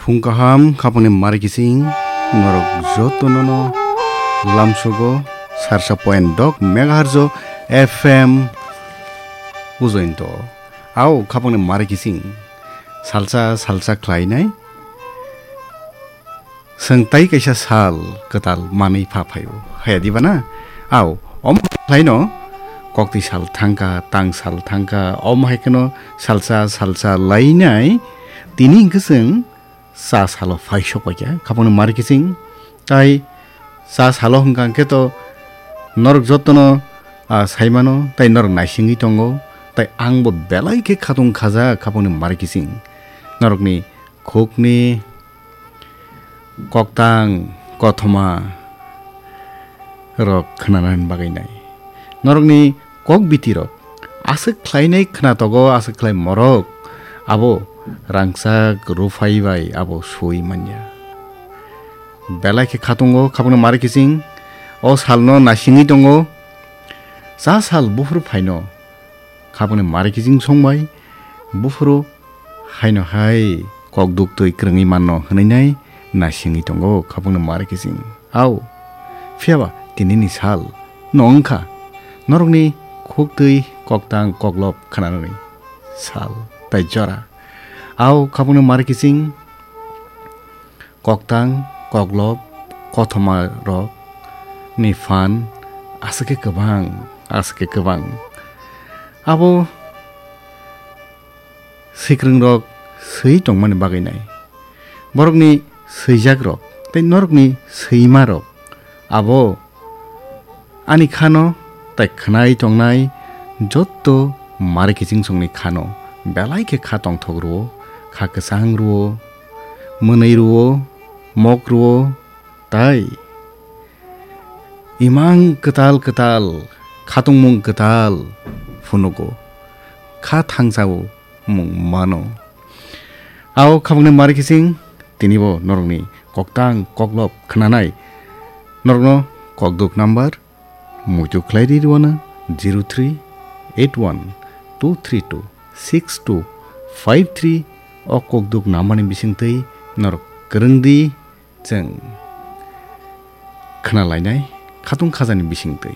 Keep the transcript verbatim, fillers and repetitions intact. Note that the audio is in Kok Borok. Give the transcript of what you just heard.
Phung kaham khapangni mari kising norok jotono no lamsogo sarsa point dok megahertz o F M ujointo. Ao khapangni mari kising salsa salsa khlainai. Chwng tai kaisa sal kwtal manwi pha phaio, haya diba na? Ao, omo khlaino koktwi sal thangkha, tang sal thangkha, omo hai kheno salsa, salsa lainai, tini hwnkhe chwng cha salo phai sok paikha, khapangni mari kising, tai cha salo hwnkha hwnkhe to norok jotono, ah, saimano, tai norok naisingwi tongo, tai angbo belai khe khatung khajak khapangni mari kising. Norokni khukni koktang kothoma rok khnanani bagwi nai. Norokni kok biti rok aswk khlainai khnatogo, aswk khlai morok abo rangchak ruphai bai abo sui manya. Belai khe khatungo khapangni mari kising o salno naisingwi tongo. Cha sal buphuru phaino khapangni mari kising songbai buphuru haino hai kok duktwi kwrwngwi manno hwnwi nai naisingwi tongo khapangni mari kising. Ao, phiyaba tinini sal no wngkha norokni khuktwi koktang koklop khnanani sal tai jora. Ao khapangni mari kising koktang, koklop, kothoma rok ni phan aswk khe kwbang, aswk khe kwbang. Abo swikringrok swi tongmani bagwi nai. Borokni swijakrok tei norokni swimarok abo ani khano tai khwnai tongnai jotto mari kiching songni khano belai khe kha tongthok rwo, kha kwchang rwo, mwnwi rwo, mok rwo, tai imang kwtal kwtal, khatungmung kwtal phunugo, kha thangchao mung mano. Ao khapangni mari kiching tinibo norokni koktang koklop khnanai norokno kokduk number muitu khlai ri rwna zero three eight one two three two six two five three o kokduk number ni bisingtwi norok kwrwng di chwng khna lainai khatung khajani bisingtwi.